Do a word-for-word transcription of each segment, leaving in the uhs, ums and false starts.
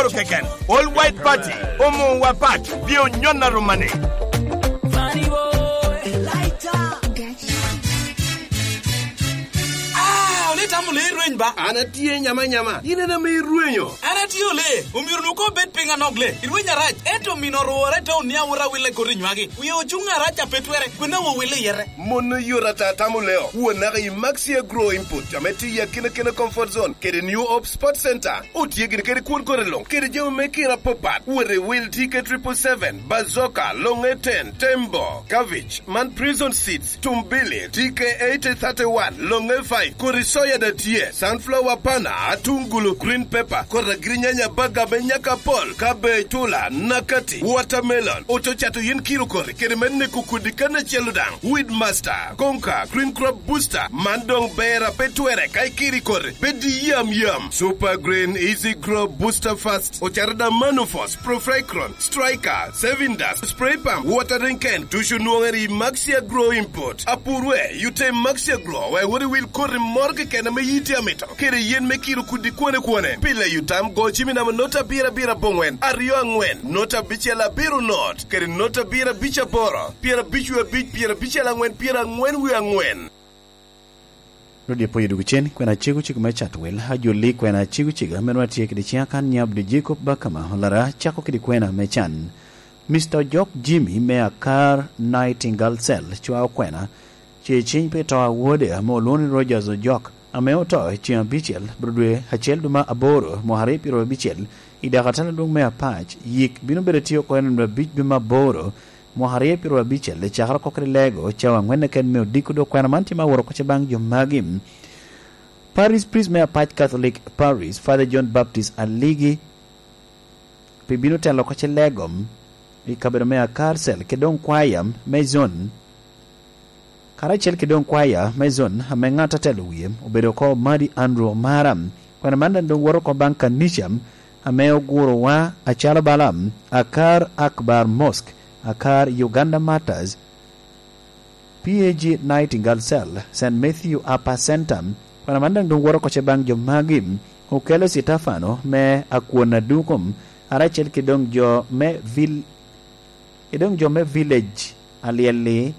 Keken, All White Party, omo wa pat, bye onyon aruma ni. Ah, ole itamo le irweny ba? An atye nyama nyama, in en ame irwenyo. An atye ole, omyero nu ko bed piny anok le, irweny arac, ento mino orwore te onia wora wille koti nywagi. Wie ocuŋ arac a pe twere, kwena wo wille yete. Mon oyot ata tamo leo, won naka i Maxi Agro Input, ame tye i akina kina comfort zone, kede New Hope Sports Center. Otye gin kede kwon kore luŋ, kede jami me kira apapat. Wot i wil T K triple seven, Bazooka, Longe ten, Tembo, Cabbage, man Prison Seeds, Tumbili, T K eighty thirty-one, Longe five, kodi soya da tye, sunflower pana, atungulu, green pepper, kodi agirinyanya, baga me nyaka pol, cabbage, tula, nakati, watermelon, ococato yen kiro kore, kede me neko kodi kan acel daŋ, Weed Master, Konka, Green Crop Booster, man doŋ ber a pe twere ka ikiri kore. Bed i yam yam. Super Green, Easy Grow, Booster Fast, ocato da Manufos, Profricron, Striker, Saving Dust, Spray Pump, Watering Can, ducu nwoŋere i Maxi Agro Import. Apurwe, yute i Maxi Agro, wek wot i wil koti moro keken ame yiti amito. Kede yen me kiro kudi kwane kwane. Pile yutam go cimi namo nota abiro abiro abongwen, aryo angwen, nota abicel abiro not, kede nota abiro abic aboro, pyera abic wie abic, pyera abicel angwen, pyera angwen wie angwen. Rwot Yecu pwoyo dwogo cen, kwena cego cego me Catwel, ajolli kwena cego cego, ame nwa tye kede ciŋa kan nyab di Jacob Bakama, olara cako kede kwena me can. Mister Ojok Jimmy me Akar Nightingale Cell, cwao kwena, ce ciny pi to a wode, ame olwoŋo ni Rogers Ojok, ame oto i ceŋ abicel, bro dwe acel duma aboro, mwaka aryo pyero abicel, i dakatala adwoŋ me Apac, yik bino bedo tye oko en dwe abic duma aboro, mwaka aryo pyero abicel, i cakere oko kede lego, cawa angwen keken me odiko, dok kwena man tye ma aworo oko ce baŋ jo magi. Parish priest me Apac Catholic Parish, Father John Baptist Aligi, pi bino telo oko ce lego, i kabedo me Akar Cell, kede doŋ kwaya me zone, karacel kede doŋ kwaya me zone, ame ŋat atelo wie, obedo oko Madi Andrew Omara. Kwena man daŋ doŋ woto oko baŋ kanica, ame ogurowa acalo bala Akar Akbar Mosque, Akar Uganda Martyrs, P A G Nightingale Cell, Saint Matthew Upper Center. Kwena man daŋ doŋ woto oko ce baŋ jo magi, okelo Citefano me Akwon Adukum, karacel kede doŋ jo me vil-, kede doŋ jo me village alyel-li.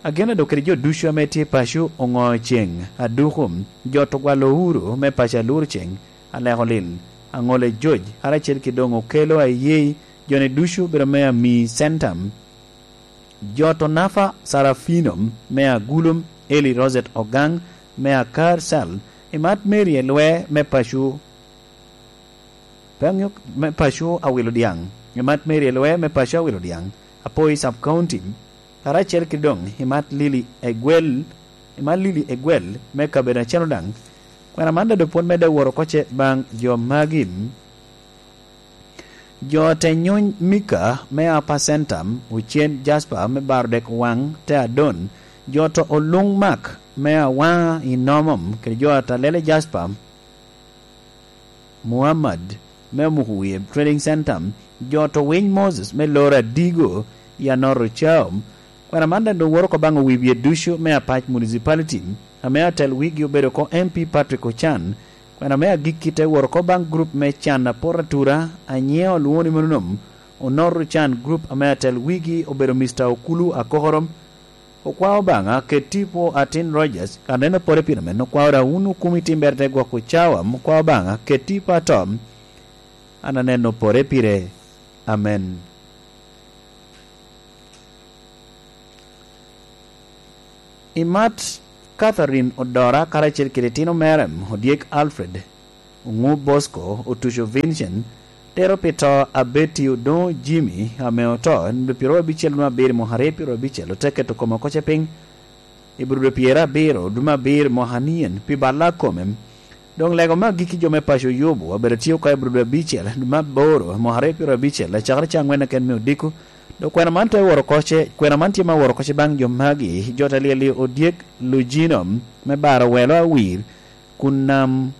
Ageno dok kede jo ducu ame tye i paco oŋo ceŋ aduku, jo to gwalo uru me paco alur ceŋ, aleko lil, aŋole joc, karacel kede doŋ okelo ayei, jo-ni ducu obedo me ami Centum, jo to nafa Sarafino me Agulum, Eli Rosette Ogang me Akar Cell, imat Mary Elwe me paco Pe aŋeo me paco awilo dyaŋ, i mat Mary Elwe me paco awilo dyaŋ, Apoi Sub County, karacel kede doŋ i mat Lili Egwel, i mat Lili Egwel me kabedo acel daŋ. Kwena man daŋ doŋ pwod medde woro oko ce baŋ jo magi. Jo te nyuny Mika me Upper Centum, Ocen Jasper me baro dek waŋ te Adon, jo to Oluŋ Mak me Awaŋa i Nomom, kede jo Atalele Jasper Muhammad me Omuku Wie Trading Center, jo to winy Moses me loro Adigo i Anoro Cao. Kwena man daŋ doŋ woro oko baŋ owi wie ducu me Apac Municipality, ame atel wigi obedo oko M P Patrick Ocan. Kwena me agikki te woro oko baŋ gurup me can apot atura, anyiŋe olwoŋo ni Mononom, Onoro Can gurup ame atel wigi obedo Mister Okulu Akokoro, Okwao Obaŋa, ket tipo atin Rogers, aneno pore pire men, okwao da wun okumi timbere te gwoko cawa, okwao Obaŋa, ket tipo ato, an aneno pore pire. Amen. Imat Catherine Odora karacel kede tino mere, odyek Alfred, Oŋu Bosco, Otuco Vincent, tero pi to Abeti Odoŋo Jimmy, ame oto, en dwe pyeraryo abicel dwe abiro mwaka aryo pyeraryo abicel, ote keto kome oko ce piny, i Burudo pyerabiro dwe abiro mwaka nien, pi balla kome. Doŋ lego me agikki jo me paco Yubu, abedo tye oko i Burudo abicel dwe aboro mwaka aryo pyeraryo abicel, acakere ca angwen keken me odiko, dok kwena man te woro oko ce, kwena man tye ma woro oko ce baŋ jo magi, jo te lyel i odyek Lujino, me baro welo awir, kun nam,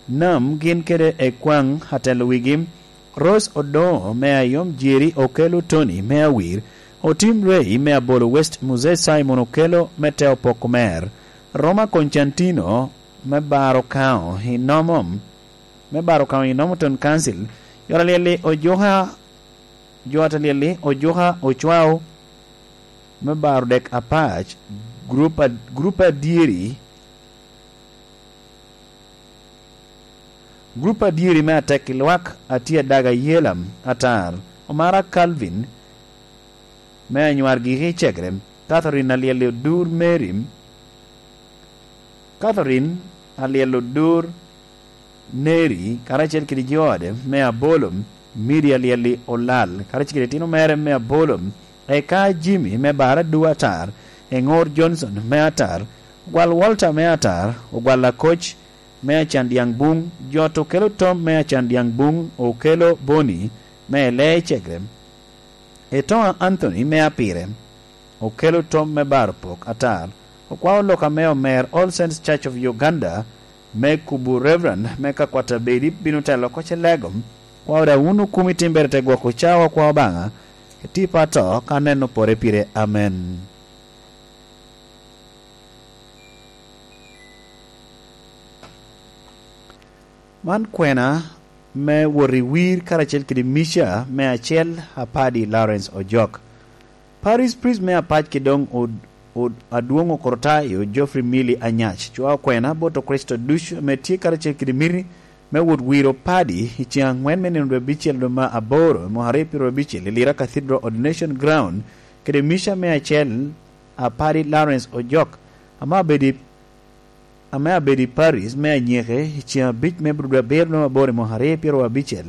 nam gin kede ekwaŋ atelo wigi, Rose Odoŋo me Ayom Jeri, Okello Tony me Awir, Otim Ray me Abolo West, Muzee Simon Okello me Teo Poko Mer, Roma Constantino me baro kaŋo i nomo, me baro kaŋo i Normanton Council, jo alyel-li ojuka, jo alyel-li ojuka ocwao me baro dek apac, grup a-, grup adyeri, grup adyeri me atek i lwak a tye adaga yelam atar, Omara Calvin, me anywar giki i Cegrem, Catherine alyel-li odur Mary, Catherine alyel odur Neri, karacel kede jo ode me Abolom, Miri alyel-li Olal, karacel kede itino mere me Abolom, eka Jimmy me Bara Dwe Atar, Eŋor Johnson me Atar, Ogwal Walter me Atar, Ogwal Akoc me Acandyaŋ Buŋ, Jot Okelo Tom me Acandyaŋ Buŋ, Okelo Boni me Elee Cegrem, Etoŋa Anthony me Apire, Okelo Tom me Baro Pok Atar, Okwao Lok ame Omer, All Saints Church of Uganda, me kubo Reverend me ka kwat abedi bino telo oko ce lego, kwao da wun okumi timbere te gwoko cawa kwa Obaŋa, etipa to ka neno pore pire. Amen. Man kwena me wot i wir karacel kede Mica me acel, Apadi Lawrence Ojok. Parish priest me apac ki doŋ od, od adwoŋ Okorotayo Geoffrey Milly Anyac cwao kwena bot Okricito ducu ame tye karacel kede miti me wot wiro padi i ceŋ aŋwen me nino dwe abicel dwe me aboro, mwaka aryo pyeraryo abicel, i Lira Cathedral Ordination Ground, kede Mica me acel, Apadi Lawrence Ojok, ame abedo i, ame abedo i Paris me anyeke i ceŋ abic me dwe abiro dwe me aboro i mwaka aryo pyeraryo abicel.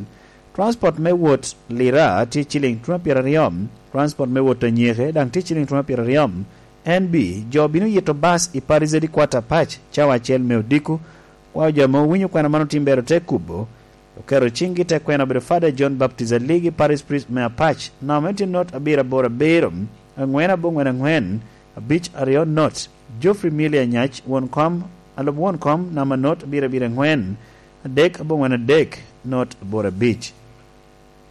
Transport me wot Lira tye ciliŋ twen pyeraryo, transport me wot anyeke daŋ tye ciliŋ twen pyeraryo. N B, jo bino yito bas i Paris Headquarter Pac, cawa acel me odiko. Kwao jo ame owinyo kwena man otimbere ote kubo, oketo ciŋgi te kwena obedo Father John Baptist Aligi, Parish Priest me Apac, namba me tye not abiro aboro abiro, aŋwen aboŋwen aŋwen, abic aryo not. Geoffrey Milly Anyac, won kom, alub won kom, namba not abiro abiro aŋwen, adek aboŋwen adek, not aboro abic.